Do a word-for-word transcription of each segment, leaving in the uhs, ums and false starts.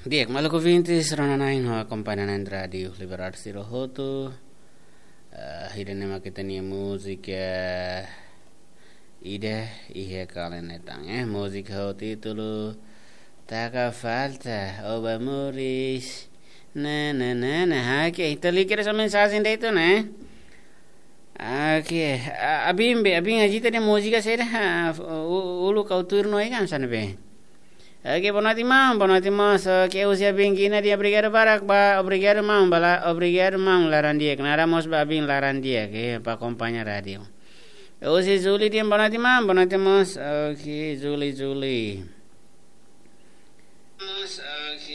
Di'ak, maluk ouvintes, rona-na'in ho akompaña na'in Rádiu Liberdade sira hotu. Eh, ida-ne'e mak ita-nia múzika ida iha kala ne'e tan, eh, múzika ho títulu Taka Falta, Oba Moris. Na, na, na, na. Oke, ita lee kedas mensajen de'it ona, eh. Oke, a-, abin be, abin agita de múzika saida, ha, u-, uluk ha'u tuir no ikan sana be. Oke, boa noite, maun, boa noite, moos. Oke, husi abin Gina dehan obrigadu barak ba, obrigadu, maun, ba la-, obrigadu, maun, laran di'ak. Naran mós ba abin laran di'ak, eh, ba akompaña rádiu. Husi Juli dehan boa noite, maun, boa noite, moos. Oke, Juli, Juli.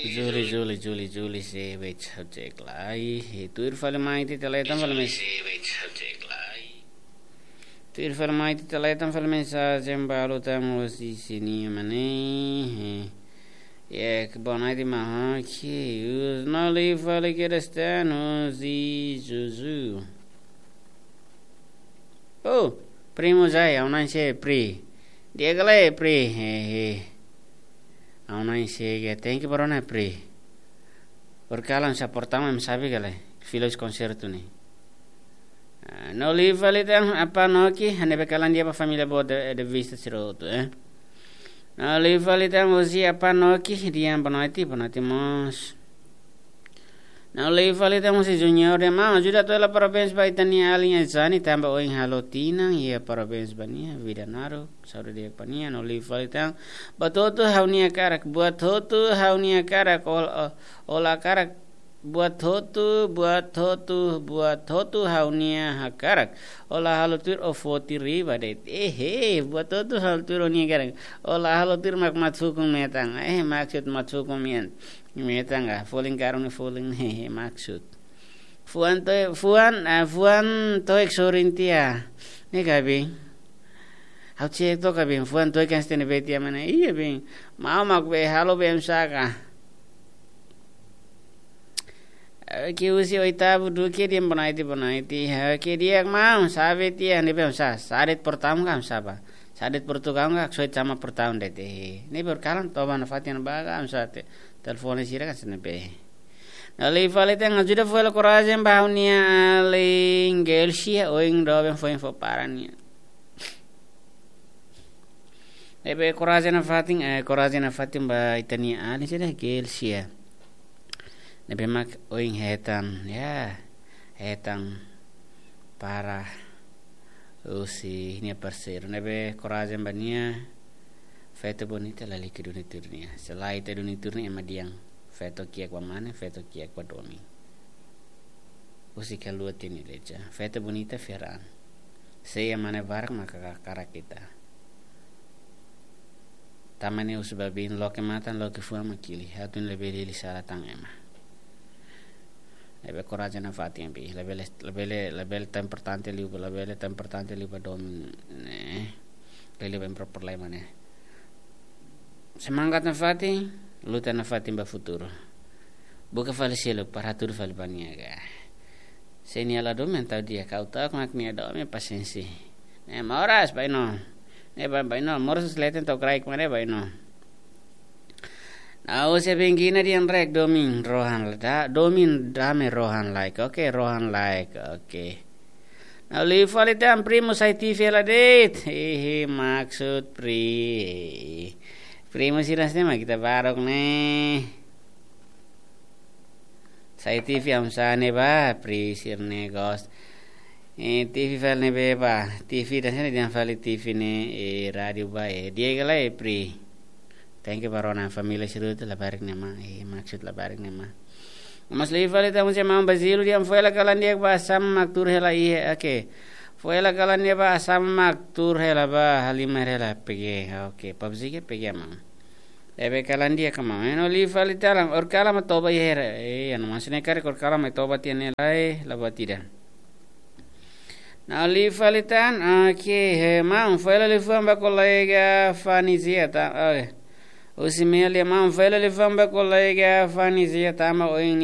Juli, Juli, Juli, Juli, se wet subjek lai. Tuir fali mai ita letan fali mes-, tuir fali mai ita letan fali mensajen balu tan husi sini mane. Ya, boa noite, maun. Oke, us no li fali kedas tan husi Zuzu. Oh, primo Zai, ha'u na'in sé Pri. Di'ak ka lae Pri, hehe. Ha'u na'in sé ke, thank you ba rona Pri. Orsida kalan sa portama em sabi ka lae, fila husi konsertu ne'e. Ah, no li fali tan Apá Noki, hanesan ne'ebé kalan di'ak ba família boot de, de vista sira hotu, eh. No li fali tan husi Apá Noki, dehan boa noite, boa noite moos. No li fali tan husi Junior dehan maun, ajuda atu hela parabéns ba ita-nia alin Zani, tanba ohin halo tinan, iha parabéns ba nia, vida naruk, saúde di'ak ba nia. No li fali tan, buat hotu ha'u-nia hakarak, buat hotu ha'u-nia hakarak, ol-, o-, ola hakarak, buat hotu, buat hotu, buat hotu ha'u-nia hakarak. Ola halo tuir ó foti riba de'it. Ehe, buat hotu halo tuir ó-nia hakarak. Ola halo tuir mak maksud ukun metan. Eh, maksud, maksud ukun metan. Metan ka, folin karun ne'e folin, hehe, maksud. Fuan to'o, fuan, ah, fuan to'o ek sorin tiha. Ne'e ka bin. Ha'u cek to'ok ka bin, fuan to'o ek kan stene be tiha mana. Iya bin. Maun mak be, halo be em saka. Oke, husi Oitavu Duque dehan boa noite, boa noite. Oke, di'ak maun, sabe tiha, ne'ebé sa, sadet portaun ka sa ba. Sadet portaun ka, soi sama portaun de'it. Ne'ebé kalan toba nafatin ba ka sa te. Telefone sira kan sene be. No li fali tan ajuda fó hela korajen ba ha'u-nia alin Gelsia, ohin doben foin fó para nia. Ne'ebé korajen nafatin, eh, korajen nafatin ba ita-nia alin sira Gelsia. Ne'ebé mak ohin hetan, ya, hetan para husi nia parseiru. Ne'ebé korajen ba nia, feto bonita lalika duni tuir nia. Se la ita duni tuir nia ema dehan. Feto kiak ba mane, feto kiak ba domin. Husi kalua tini leja. Feto bonita fiar an. Sei ema ne'e barak maka ka-, hakarak ita. Tama ne'e husi babin loke matan loke fuan mak hili. Hatun labele hili sala tan ema. Labele korajen nafatin bi. Labele, labele, labele tan importante liu, labele tan importante liu ba domin ne'e. Labele ba impro problema ne'e. Semangat nafatin, luta nafatin ba futuru. Buka fali seluk para hatudu fali ba nia ka. Se nia la domin tau di'ak, ha'u ta'uk mak nia domin pasiénsia. Ne'e moras bainó. Ne'e ba-, bainó, moras leten tau kraik mane bainó. No husi abin Gina dehan rek domin rohan la da, domin dame rohan laek. Oke, rohan laek. Oke. No li fali tan primo sai T V hela de'it. Hehe, maksud Pri. Primo sira sini mak ita baruk ne'e. Sai T V hamsa ne'e ba, Pri sira-ne'e gosta. Eh, T V fali ne'ebé ba, T V dan sini dehan fali T V ne'e, eh, rádiu ba, eh, di'ak ka lae Pri. Thank you ba rona família sira hotu labarik ne'e mak, eh, maksud labarik ne'e mak. Mas li fali tan husi maun Bazilu dehan fó hela kalan di'ak ba sama mak tuur hela iha, oke. Fó hela kalan di'ak ba sama mak tuur hela ba halimar hela pege, oke. Pabzike pege maun. Ne'ebé kalan di'ak ka maun. Eh, no li fali tan, orsida kalan mak toba iha hera. Eh, anu maksudnya karik orsida kalan mak toba tiha ne'e lae, la buat ida. No li fali tan, oke, he, maun, fó hela liafuan ba kolega Fanizia tan, oke. Husi Meli, maun, fó hela liafuan ba kolega Fanizia tan, maun, ohin